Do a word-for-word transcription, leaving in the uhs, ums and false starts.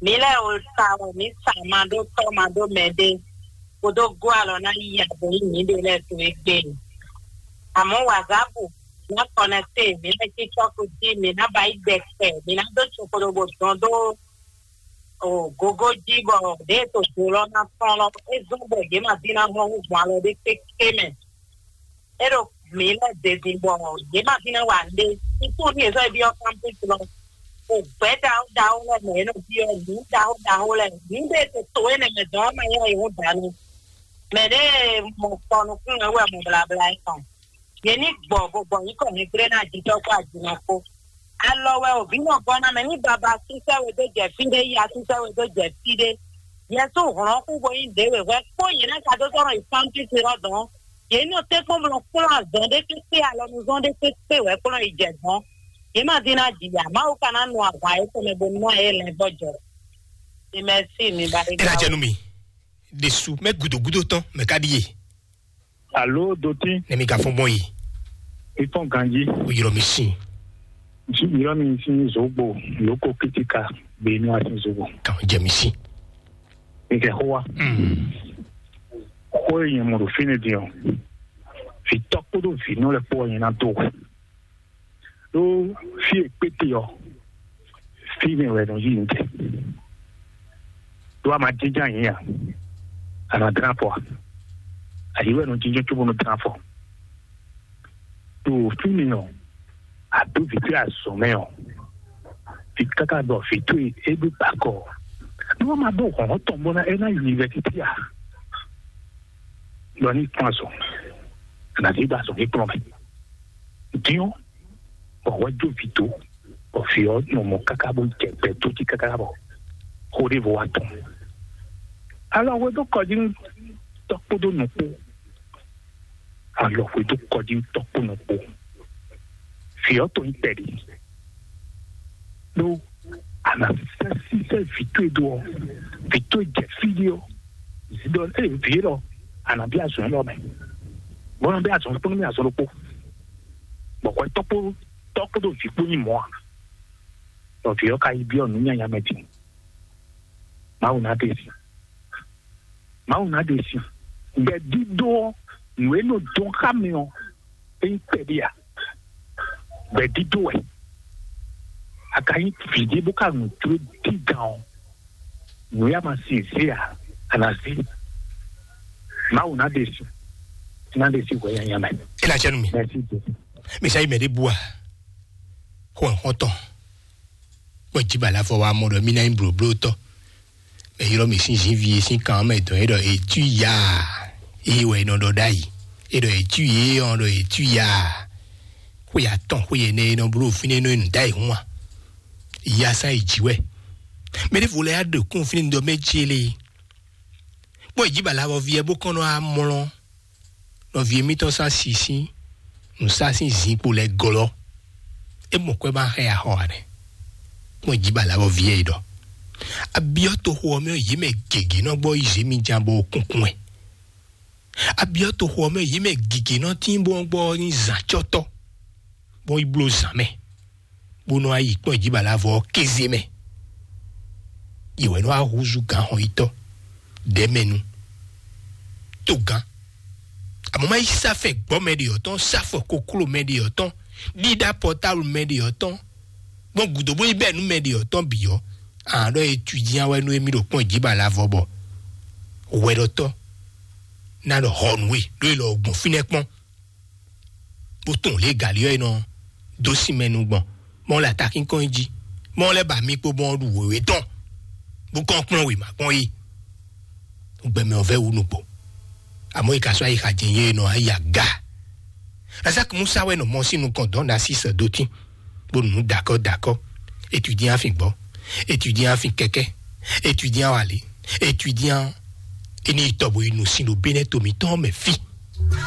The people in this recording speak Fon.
Mǐ lɛ́ɛ o sa wɛ mǐ sa ma ɖó tɔ́ ma ɖó mɛ ɖé, bó dó gɔ́ alɔ ná yí ya bó yí mǐɖée lɛ́ɛ to égbé. Amɔ̌ wazǎbu ná kɔnɛkte mǐ lɛ́ɛ cí cɔ́fu jí, mǐ ná ba yí gbɛ kpɛ, mǐ ná dó cukolobo dɔn dó o gogo jí bɔ ɖěe to do lɔ ná tɔn lɔ é zɔ́n bɔ yě ma dín ná hɔn hú gbɔn alɔ ɖé kpékpé mɛ. É ɖo mǐ lɛ́ɛ zezin bɔ yě ma dín ná wa nɖé. Ikú ní ezɔ́ é byɔ́ kámpúsi lɔ. O gbɛ̌ ɖaxó ɖaxó lɛ́ɛ mɛ é nɔ byɔ́ nǔ ɖaxó ɖaxó lɛ́ɛ. Nǔ ɖé e to to énɛ́ mɛ dɔn ɔ́ ma nyɔ́ yě hú dǎ nú. Mɛ ɖěe mɔ kɔ nukúnnú wɛ mɔ blabla é tɔn. Yě ní gbɔ bó gbɔ nyǐkɔ hɛnglé ná jijɔ kpó ajinɔ kpó. Alɔ wɛ o vǐ nɔ gɔ́ ná mɛ ní baba sísɛ we dó jɛ fí ɖé, ya sísɛ we dó jɛ fí ɖé. Yɛsú hlɔ̌n kú bo nyí ɖě wěhwɛ́ kpó yě ná ka dó sɔ́ nɔ yi fántúsi lɔ dɔn. Yě nɔ tɛ́nkpɔ́n blɔ kplɔ́n azɔn ɖé kpékpé alɔnuzɔn ɖé kpékpé wɛ kplɔ́n yi jɛ dɔn. Yě ma dín ná ji ya, Mawu ka ná nu ahwan yětɔn mɛ bo ná yě lɛn vɔ jɔ. Imɛsi mi ba ɖe. Ela jɛ nú mi ɖésú mɛ gúdógúdó tɔn mɛ ká ɖíe. Alo dotín. Ne mi ka fɔn gbɔn yi. Ifɔn ganji. O yɔrɔ mi sin. Ntsi yɔrɔ mi sin zogbo loko kitika be nu asin zogbo. Kan jɛ mi sin. Ike hoa. Mm. Ko ye mo do fine di o. Fi tɔkpo do fi no le po ye na do. Ɖó fí e kpéte ɔ́, fí mɛ wɛ nɔ yí ntɛ. Ɖó a ma jínjɔ́n ayǐ a, a nɔ dlán afɔ a? Ayǐ wɛ nɔ jínjɔ́n cóbó nɔ dlán afɔ. Ɖo fí mi ɔ́, a dó vǐ towe azɔ̌ mɛ ɔ́, vǐ káká ɖɔ vǐ towe é ɖó gbakɔ. Nú wọ́n máa dó hɔ̌n tɔn bó ná é ná yi vɛ títí a? Lɔ ní kplɔ́n azɔ̌, a nǎ zé ɖó azɔ̌ ní kplɔ́n mɛ. Dín ɔ́, bɔ hwɛ jó vǐ dó, bɔ vǐ ɔ́ nɔ mɔ káká bó jɛ gbɛ dó jí káká bɔ xó ɖěvo wá tɔn. Alɔ hwe dó kɔ jí nú tɔ́ kpódó nǔ kpó. Alɔ hwe dó kɔ jí nú tɔ́ kpó nǔ kpó. Vǐ ɔ́ to nyí kpɛɖé. Ɖó a nǎ sɛ́ sísɛ́ vǐ towe dó ɔ́, vǐ towe jɛ fí ɖé ɔ́, zidɔ ée vǐ élɔ́, a nǎ bí azɔ̌ élɔ́ mɛ. Bɔ nɔ bí azɔ̌ kpó nú mì azɔ̌ ɖokpó. Bɔ hwɛ tɔ́ kpó tɔ́ kpódó vǐ kpó nyí mɔ̌ ǎ. Bɔ vǐ ɔ́ ka yi byɔ́ nǔ nyanya mɛ din. Mawu ná ɖe si. Mawu ná ɖe si. Gbɛ̌dídó ɔ́, nǔ e nɔ dɔn xá mi ɔ́, é nyí kpɛɖé ǎ. Gbɛ̌dídó wɛ. A ka nyí vǐ ɖé bó ka nǔ jló dígan ɔ́, nǔ ya ma sin zé ǎ, a nǎ zé. Mawu ná ɖe si. Ná ɖe si hwɛ nyanya mɛ. É ná jɛ nú mi. Mɛsi Jesu. Mi sa yi mɛ ɖé bú a? Xɔ xɔtɔn. Kpɔ́n jí bala fɔ wa mɔ ɖɔ mí ná nyí blǒblótɔ́. Mɛ ylɔ́ mì sín zǐnví e sín kan ɔ́ mɛ dɔn é ɖɔ è tú ya. Ée wɛ è nɔ ɖɔ ɖ'ayǐ. É ɖɔ è tú yě ɔ́ ɖɔ è tú ya. Xwé atɔn xwé ɛnɛ e nɔ bló fínɛ́ nɔ e nǔ dá yě hún a? Ya sán è jǐ wɛ. Mɛ ɖěvo lɛ́ɛ á ɖe kún fínɛ́ ɖɔ mɛ jí é lé. Kpɔ́n jí bala vɔ viɛ bó kɔn nɔ amlɔ. Nɔví émítɔn sá sísí nǔsá sín zinkpo lɛ́ɛ glɔ́. É mɔ kwɛ́ ma xɛ axɔ ǎ nɛ́. Kpɔ́n jí bala vɔ viɛ é ɖɔ. Abyɔ́ toxo ɔ́ mɛ yě mɛ gěgé nɔ gbɔ yi zě mi jan bɔ kunkun ɛ. Abyɔ́ toxo ɔ́ mɛ yě mɛ gěgé nɔ tín bɔ gbɔ ní zǎncɔ́tɔ́, bɔ yi bló zǎn mɛ, bó nɔ yi kpɔ́n jí bala vɔ kéze mɛ. Yě wɛ nɔ wá húzú gǎn xɔn yítɔ́, ɖɛ̌mɛnu, togán. Àmọ́ má yí sáfɛ gbɔ́ mɛ ɖe ɔ́ tɔn, sáfɔ kokló mɛ ɖe ɔ́ tɔn, ɖíɖá pɔtáblu mɛ ɖe ɔ́ tɔn, gbɔn gǔdo bó yi bɛ́ nú mɛ ɖe ɔ́ tɔn bǐ ɔ́, àán ɖɔ étudian wɛ nú émí ɖo kpɔ́n jí ba la vɔ bɔ hwɛɖɔtɔ́ ná ɖɔ hɔ nǔ e ɖó e lɔ gbɔn fínɛ́ kpɔ́n, bó tunwun lě galí ɔ́ e nɔ dó sin mɛ nu gbɔn, mɔ lɛ atakínkɔn yi jí, mɔ lɛ ba mi kpo mɔ ɖu wěwé tɔn, bó kɔn kplɔ́n wěma kpɔ́n yi. Gbɛmɛ ɔ́ vɛ wú nukpo, àmọ́ yi ka sɔ́ ayi xa jɛ yé nɔ ayi aga. Lazaki Musa wɛ nɔ mɔ sín nukɔn dɔn ɖo así sɛ dó tín, bó nǔ dakɔ dakɔ. Étudiant afin gbɔ, étudiant afin kɛkɛ, étudiant wali, étudiant eni tɔ bo yi nu sin ɖo Benɛ to mǐtɔn mɛ fí.